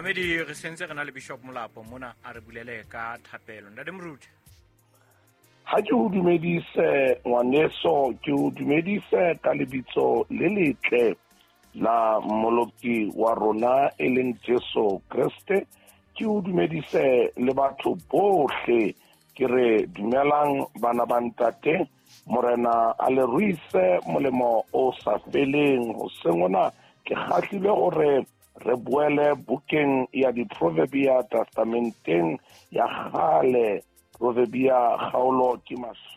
Mamedi, re sentse re na le Bishop Molapo mona, a re bulele ka thapelo. Ntate Moruti. Ha ke o dumedise ngwaneso, ke o dumedise ka lebitso le letle la Mmoloki wa rona e leng Jesu Kreste. Ke o dumedise le batho bohle, ke re dumelang bana ba ntate, Morena a le ruise molemo o sa feleng. Hoseng hona ke kgahlilwe hore re boele bukeng ya Diproverbia, testamenteng ya kgale. Proverbia kgaolo ke 21,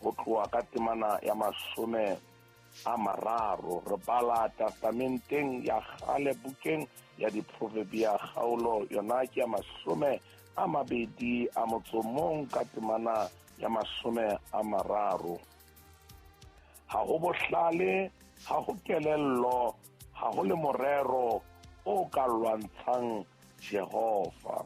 ho tloha ka temana ya 30. Re bala testamenteng ya kgale bukeng ya Diproverbia, kgaolo yona ke ya 21 ka temana ya 30. Ha ho bohlale, ha ho kelello, ha ho le morero o ka lwantshang Jehova.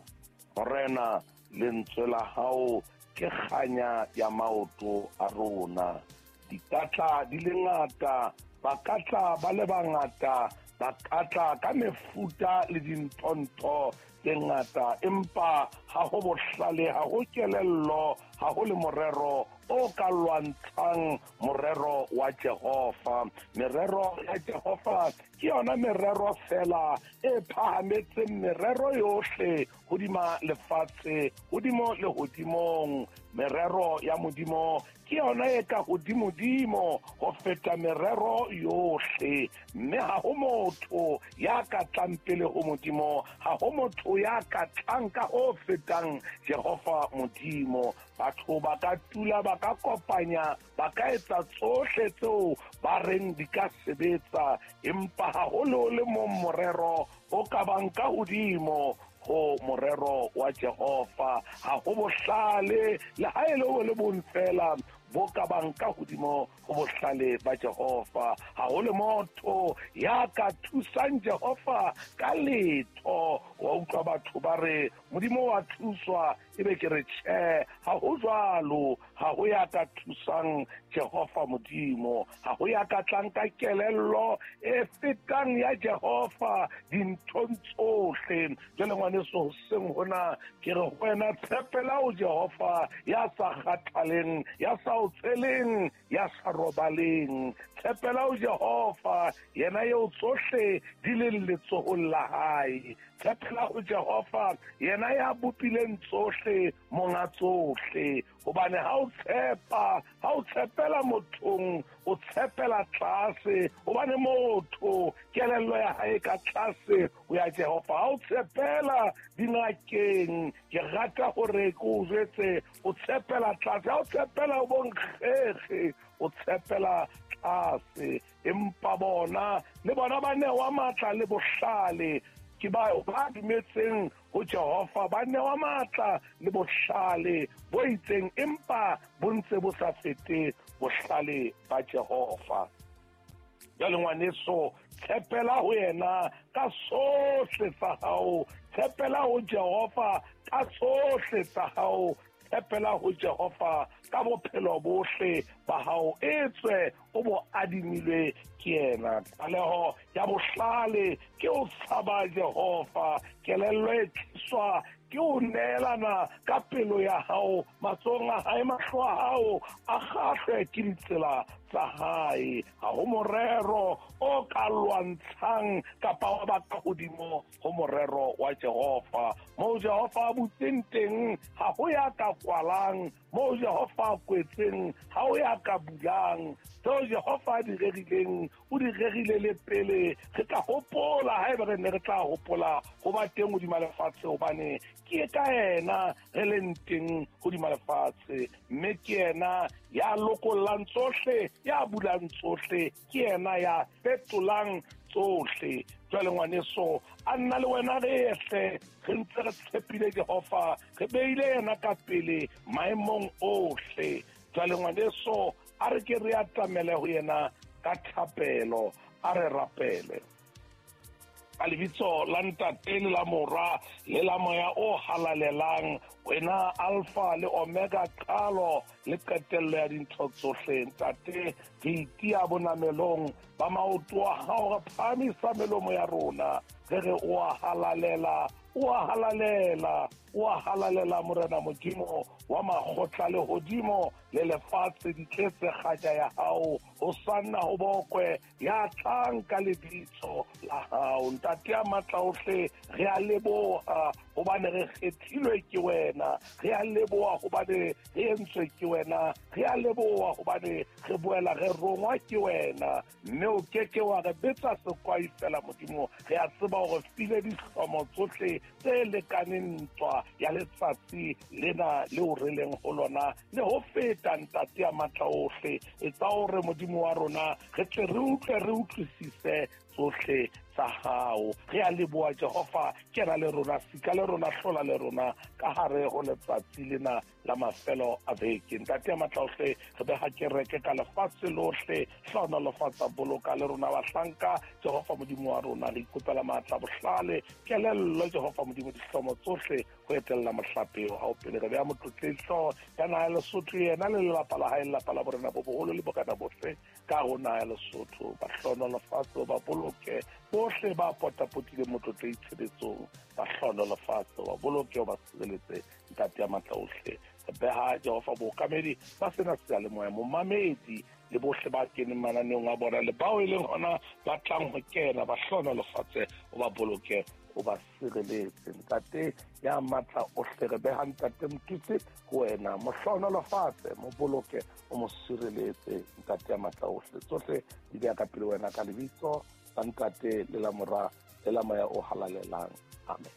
Morena, lentswe la hao ke kganya ya maoto a rona. Dikatla di le ngata, ba ka tla ba le bangata, ba ka tla ka mefuta le dinthontho tse ngata, empa ha ho bohlale, ha ho kelello, ha ho le morero o ka lwantshang morero wa Jehova. Merero ya Jehova ke yona merero fela e phahametseng merero yohle hodima lefatshe, hodimo le hodimong. Merero ya Modimo ke yona e ka hodimodimo ho feta merero yohle, mme ha ho motho ya ka tlang pele ho Modimo, ha ho motho ya ka tlang ka ho fetang Jehova Modimo. Batho ba ka tula, ba ka kopanya, ba ka etsa tsohle tseo ba reng di ka sebetsa, empa ha ho le le mong morero o ka bang ka hodimo ho morero wa Jehova. Ha ho bohlale le ha e le bo le bong fela bo ka bang ka hodimo ho bohlale ba Jehova. Ha ho le motho ya ka thusang Jehova ka letho. Wa utlwa batho ba re Modimo wa thuswa, ebe ke re tjhe, ha ho jwalo. Ha ho ya ka thusang Jehova Modimo, ha ho ya ka tlang ka kelello e fetang ya Jehova dinthong tsohle. Jwale ngwaneso, hoseng hona ke re ho wena, tshepela ho Jehova ya sa kgathaleng, ya sa o tsheleng, ya sa robaleng. Tshepela ho Jehova, yena eo tsohle di leng letsohong la hae. Tshepela ho Jehova, yena ya bopileng tsohle, monga tsohle. Hobane ha o tshepa, ha o tshepela mothong, o tshepela tlase, hobane motho kelello ya hae ka tlase ho ya Jehova. Ha o tshepela dingakeng, ke rata hore ke o jwetse, o tshepela tlase. Ha o tshepela ho bonkgekge, o tshepela tlase. Empa bona le bona ba newa matla le bohlale, ke ba ba dumetseng ho Jehova, ba newa matla le bohlale bo itseng, empa bo ntse bo sa fete bohlale ba Jehova. Jwale ngwaneso, tshepela ho yena ka sohle tsa hao, tshepela ho Jehova ka tsohle tsa hao, tshepela ho Jehova ka bophelo bohle ba hao, etswe o bo adimilwe ke yena. Tlaleho ya bohlale ke o tshaba Jehova, kelello e tliswa ke o neelana ka pelo ya hao matsohong a hae, mahlo a hao a kgahlwe ke ditsela tsa hae. Ha ho morero o ka lwantshang kapa wa ba ka hodimo ho morero wa Jehova. Moo Jehova a butseng teng ha ho ya ka kwalang, moo Jehova a kwetseng ha ho ya ka bulang. Tseo Jehova a di rerileng, o di rerile le pele re ka hopola, haeba re ne re tla hopola ho ba teng hodima lefatshe, hobane ke ka yena re leng teng hodima lefatshe. Mme ke yena ya lokollang tsohle, ya bulang tsohle, ke yena ya fetolang tsohle. Jwale ngwaneso, a nna le wena re ehle re ntse re tshepile Jehova, re beile yena ka pele maemong ohle. Jwale ngwaneso, a re ke re atamele ho yena ka thapelo, a re rapele. Ka lebitso la Ntate le la Mora le la Moya o Halalelang, wena Alpha le Omega, qalo le qetello ya dintho tsohle. Ntate, re itia bonamelong ba maoto a hao, re phahamisa melomo ya rona, re re o a halalela, o a halalela, o a halalela, Morena Modimo wa makgotla, lehodimo le lefatshe di tletse kgatja ya hao. Hosanna ho bokwe ya tlang ka lebitso la hao. Ntate ya matla ohle, re a leboha hobane re kgethilwe ke wena, re a leboha hobane re entswe ke wena, re a leboha hobane re boela re rongwa ke wena, mme o keke wa re betsa sekwai fela. Modimo, re a tseba hore file dihlomo tsohle tse lekaneng ntwa ya letsatsi lena leo re leng ho lona le ho feta. Ntate ya matla ohle, etsa hore Modimo wa rona re tle re utlwe, re utlwisise tsohle tsa hao. Re a leboha Jehova, kena le rona, sika le rona, hlola le rona ka hare ho letsatsi lena la mafelo a beke. Ntate ya matla ohle, re beha kereke ka lefatshe lohle, hlohonolofatsa, boloka le rona bahlanka. Jehova Modimo wa rona, re ikopela matla, bohlale, kelello, Jehova Modimo, dihlomo tsohle ho etella mohlape wa hao pele. Re beha motlotlehi hlooho ya naha ya Lesotho, yena le lelapa la hae, lelapa la borena bo boholo le bokana bohle ka ho naha ya Lesotho. Ba hlohonolofatse, ba boloke bohle ba potapotileng motlotlehi tshebetsong, ba hlohonolofatse, ba boloke, ba sireletse. Ntate ya matla ohle, re beha Jehova bookamedi ba sena seyalemoya, momamedi le bohle ba keneng mananeong a bona le bao e leng hona ba tlang ho kena, ba hlohonolofatse, o ba boloke, o ba sireletse. Ntate ya matla ohle, re beha Ntate Motutsi ho wena, mo hlohonolofatse, mo boloke, o mo sireletse. Ntate ya matla ohle, tsohle di beha ka pele wena ka lebitso la Ntate le la Mora le la Moya o Halalelang. Amen.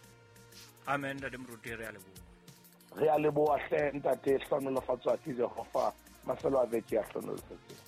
Amen. Ntate Moruti, re a leboha. Re a leboha hle ntate, hlohonolofatswa ke Jehova, mafelo a beke a hlohonolofetseng.